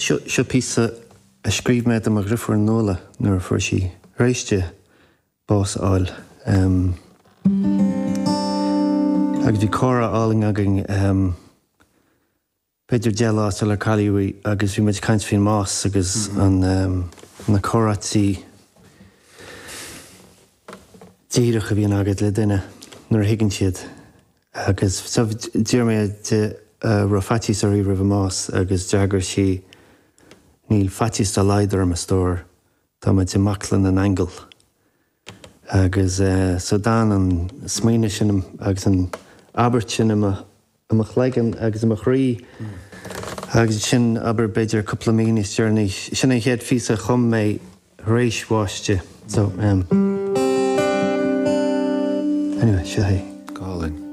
Seo píosa a scríobh mé do mo dhriofúr Nuala nuair a fuair sí, tar éis di bás a fháil. Agus bhí comhrá álainn againn b'fhéidir 10 lá sular cailleadh í agus bhí muid ag caint faoin mbás agus an na comhráití díreach a bhíonn agat le duine nuair a thuigeann siad. Agus so d'iarr mé di an raibh faitíos uirthi roimh an mbás agus d'fhreagair sí níl faitíos dá laghad orm a stór, tá muid i mbaclainn na n-aingeal. Agus so d'fhan an smaoineamh sin agus an abairt sin i mo i mo chloigeann agus i mo chroí agus sin abair b'fhéidir cúpla mí níos deireanaí, sin an chéad phíosa a chum mé tar éis bháis di. So, em. Anyway, seo é. Go hálainn.